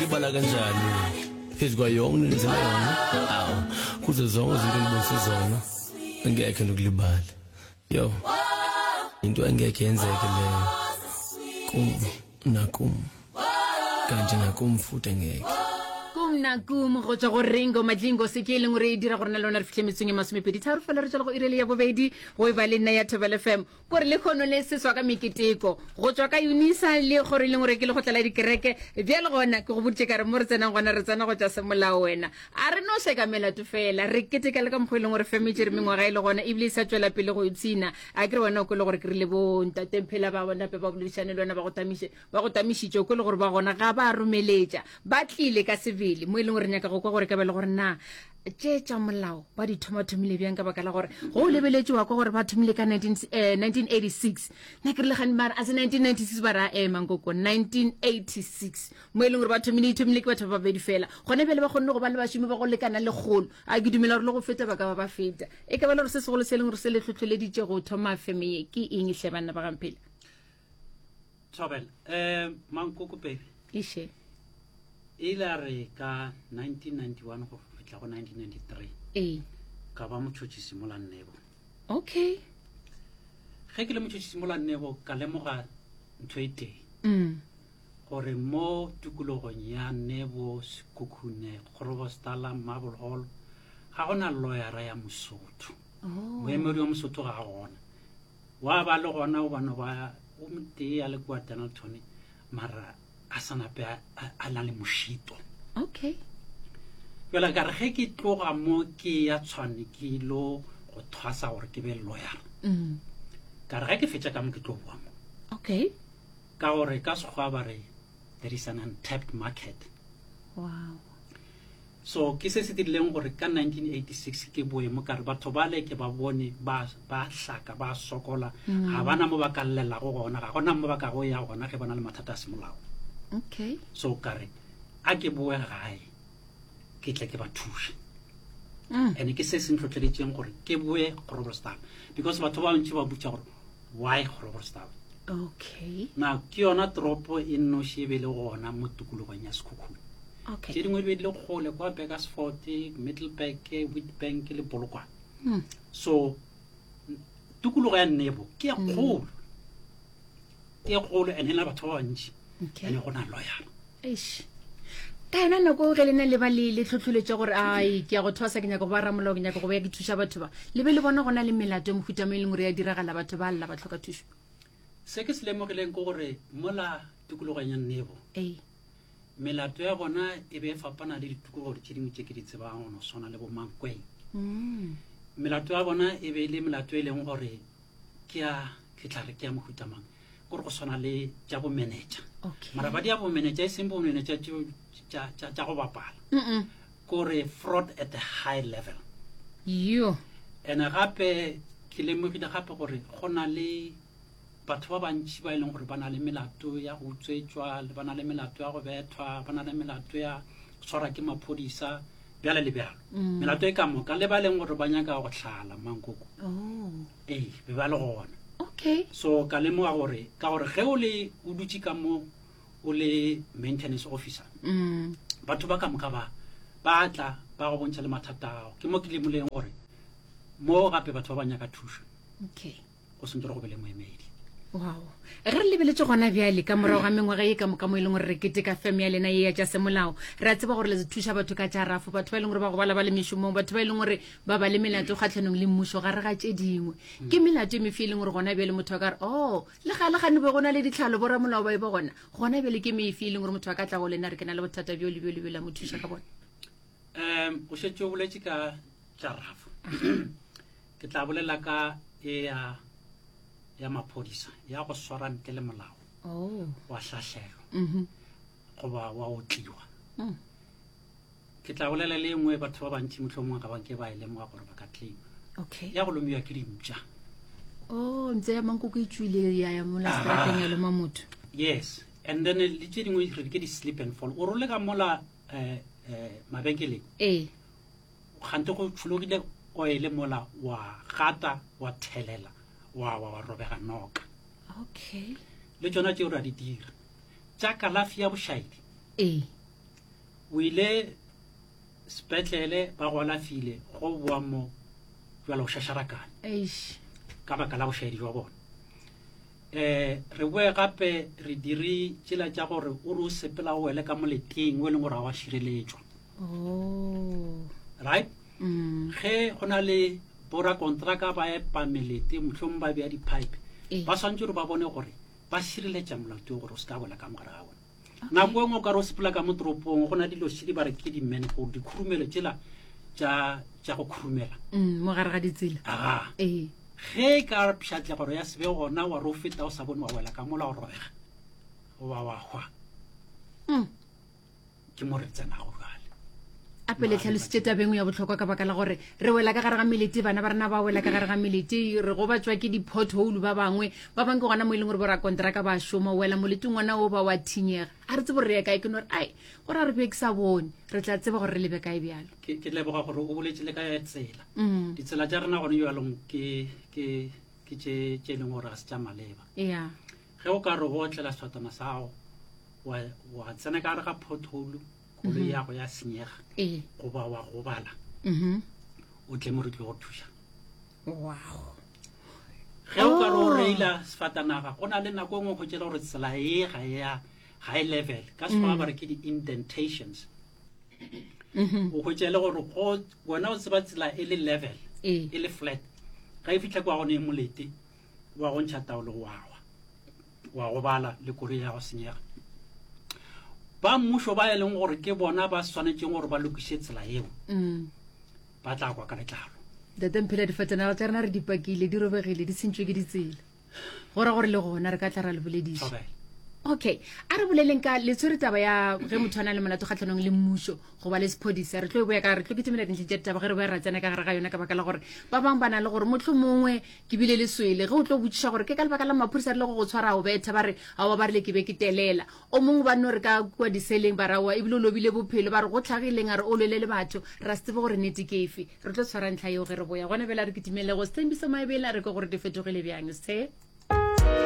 Libala kanjani phezu kwayo yonke into endenzela yona awu kuzo zonke izinto endibonise zona angekhe ndikulibale yo into engekhe yenzeke leyo kum nakum kanti nakum futhi engekhe kum na kum go tswa go ringo madlingo se ke e leng gore e dira gore na le lona re fitlhe metsong e masomepedi tharo fela re tswela go irele ya bobedi go e ba le nna ya thobel fm Kore lekgono le seswa ka meketeko go tšwa ka Unisa le gore e leng gore ke le go tlala dikereke. Bjale gona ke go boditše ka re mo re tsenang gona re tsena go tša semolao wena. A re no šeka melato fela, re keteka le ka mokgwa e leng gore feme e tšere mengwaga e le gona ebile e sa tšwela pele go ipshina. A ke re wena o kwele gore ke rile bo ntate Mphela ba nape ba boledišane le wena ba go tamiše, ba go tamišitše o kwele gore ba gona ga ba romeletša. Ba tlile ka sebele mo e leng gore nyaka go kwa gore ka ba le gore na tše tša molao ba di thoma-thomile bjang ka baka la gore go o lebeletše wa kwa gore ba thomile ka 19, eh, 1986 na ke rile gane mara a se 1996 ba ra ema nkoko 1986 mo e leng gore ba thomile ithomile ke batho ba babedi fela gone bjale ba kgonne go ba le bašomi ba go lekana lekgolo a ke dumela gore le go feta ba ka ba ba feta e ka ba le gore se segolo se e leng gore se le tlhotlholeditše go thoma feme ye ke eng hle banna ba gamphela Thobela, um mankoko pele iše e ile a re ka 1991 go fihla go 1993 ee ka ba motšhotšhisi mola nnebo okay ge ke le motšhotšhisi mola nnebo ka lemoga ntho e tee mm. gore mo tikologong ya nebo sekhukhune kgorobostala marble hall ga gona lawyera ya mosotho oh. moemedi wa mosotho ga a gona Wa ba le gona o bano ba o motee a le kua Dennilton mara a sa nape a na le mošito. Okay. Jale ka re ge ke tloga mo ke ya Tshwane ke ilo go thwasa gore ke be lawyer. Mm. Ka re ge ke fetša ka mo ke tlo boa mo. Okay. Ka gore ka Sekgowa ba re there is an untapped market. Wow. So ke se se dirileng gore ka 1986 ke boe mo ka re batho bale ke ba bone ba ba hlaka ba sokola mm. ga bana mo ba ka llelago gona ga gona mo ba ka go ya gona ge ba na le mathata a semolao. Okay. So ka re a ke boe gae ke tle ke ba thuše. Mm. And ke se se ntlhotlheleditseng gore ke boe Groblersdal because batho ba bantši ba botša gore why Groblersdal. Okay. Na ke yona toropo e nnoši e be le gona mo tikologong ya Sekhukhune. okay. tše dingwe di be di le kgole kwa Burgersfort, Middelburg, Witbank le Polokwane mm. so tikologo ya Nebo ke ya hmm. kgolo ke ya kgolo and e na batho ba bantši okay. and go na loyal eish ka yona nako ge lena le ba le le tlhotlholetše gore ai ke ya go thwasa ke nyaka go ba ramolao ke nyaka go ya ke thuša batho ba le be le bona go na le melato e mohuta mo e leng gore ya diragala batho ba lla ba tlhoka thušo se ke se lemogileng ke gore mola tikologong ya Nebo ee Melato ya bona e be e fapana le ditikologo tše dingwe tše ke di tsebang go no swana le bo Mankweng. Mm. Melato ya bona e be e le melato e leng gore ke ya ke tla re ke ya mohuta mang kore go swana le tša bomenetša Okay. mara ba di ya bomenetša e seng bomenetša tšeo tša- tša tša go bapala Mm -mm. kore fraud at a high level Yo. ene gape ke lemogile gape gore go na le Batho ba bantši ba e leng gore ba na le melato ya go utswetšwa, ba na le melato ya go bethwa, ba na le melato ya go tshwarwa ke maphodisa, bjale le bjalo. Mm. Melato e ka moka le ba e leng gore ba nyaka go hlala mankoko. Oh. Ee, be ba le gona. Okay. So ka lemoga gore ka gore ge o le o dutše ka mo o le maintenance officer mm. batho ba ka moka ba ba tla ba go bontšha le mathata ao ke mo ke lemoleng gore mo gape batho ba ba nyaka thušo okay go sentse gore go be le moemedi. Wow. Ge re lebeletše gona bjale ka morago ga mengwaga ye ka moka mo e leng gore re keteka fem ya lena ye ya tša semolao, re a tseba gore le thuša batho ka tša rafo, batho ba e leng gore ba gobala ba le mešomong, batho ba e leng gore ba ba le melato kgatlhanong le mmušo gare ga tše dingwe. Ke melato e mefe e leng gore gona bjale motho a ka re, oh, le gale gane be go na le ditlhalo boramolao ba e ba gona, gona bjale ke mefe e leng gore motho a ka tla go lena re ke na le bothata bjo le bjo le bjo la mo thuša ka bona? Um o šetše o boletše ka tša rafo. Ke tla bolela ka e ya ya maphodisa ya go swara ntle le molao oh. wa hlahlelwa mm -hmm. goba wa otliwa mm. ke tla bolela le engwe batho ba bantši mohlomongwe ga ba ke ba e lemoga gore ba ka claima okay. ya go lomiwa ke dimpša oh ntse ya mankoko e tswile ya ya mola strateng ya loma motho yes and then le tše dingwe re ke di-slip and fall o role ka mola um um mabenkeleng ee Kgante go tšhologile oele mola wa gata wa thelela wa wa wa robega noka. Okay. Le tšona tšeo ra di dira. Tša kalafi ya bošaedi. Ee. O ile sepetlele ba go alafile go boa mo jwale o šašarakane Eish. ka baka la bošaedi jwa bona. Um re boe gape re dire tšela tša gore o re o sepela o wele ka moleteng o e leng gore ga wa šireletšwa. Oh. Right? Mm. Ge go na le borakontraka ba epa melete mohlomong ba bea di-pipe Ee. ba swantse gore ba bone gore ba šireletša molato gore o se ka wela ka mogare ga bona. Nako e nngwe o ka re o sepela ka mo toropong go na dilo šedi ba re ke di-manhole dikhurumelo tšela tša tša go khurumela. Mm, mo gare ga ditsela. Aga. Ee. Ge e ka pšhatlegoro ya se be gona wa re o feta o sa bone wa wela ka mola o robega goba wa hwa. Mm. Ke mo re tsenago bjale. A pele tlhalositše tabeng ya bohlokwa ka baka la gore re wela ka gare ga melete, bana ba rena ba wela ka gare ga melete, re gobatšwa ke di-pothole ba bangwe, ba bangwe ke gona mo e leng gore borakonteraka ba šoma, wela moleteng ngwana o ba wa thinyega. A re tsebe gore re ye kae, ke no re ai, gore a re be ke sa bone, re tla tseba gore re lebe kae bjalo. Ke, ke leboga gore o boletše le ka ya tsela. Mm. Ditsela tša rena gone bjalong ke, ke, ke tše, tše e leng gore ga se tša maleba. Yeah. Ge o ka re o otlela sefatana sa gago, wa, wa tsena ka gare ga pothole, koloi mhm. yago ya senyega ee. goba wa gobala mhm. o tle mo re tlile go thuša wow ge o ka re o oh. reila sefatanaga go na le nako e nngwe go tšela gore tsela e ga ya ga e level ka sekgowa mm. ba re ke di-indentations mm-hmm. o hwetša e le gore go wena o tseba tsela e le level ee. e le flat ga e fitlha kwa gone e molete wa go ntšha taolo wa wa wa gobala le koloi ya go senyega ba mmušo ba e leng gore ke bona ba swanetšeng gore ba lokiše tsela eo mm. ba tla kwa ka letlalo ntate mphela difatanaga tša rena re di pakile di robegile di sentšwe ke ditsela go ra gore le gona re ka tla ra le bolediša okay a re boleleng ka le tshwere taba ya ge motho a na le molato kgatlhanong le mmušo goba le sephodisa re tlo e boya ka re tlo kitimela dintlheng tša ditaba ge re boya ra tsena ka gare ga yona ka baka la gore ba bangwe ba na le gore motlho mongwe Ke bile le swele ge o tlo botšiša gore ke ka lebaka la maphodisa re le go go tshwara o betha ba re aowa ba rile ke be ke telela. O mongwe ba no re ka kua diseleng ba re aowa ebile o lobile bophelo ba re go hlagileng a re o lwele le batho ra se tsebe gore nnete ke efe. Re tlo tshwara ntlha yeo ge re boya. Gona bjale a re kitimele go Sthembiso Maebela re kwe gore di fetogile bjang. Sthe.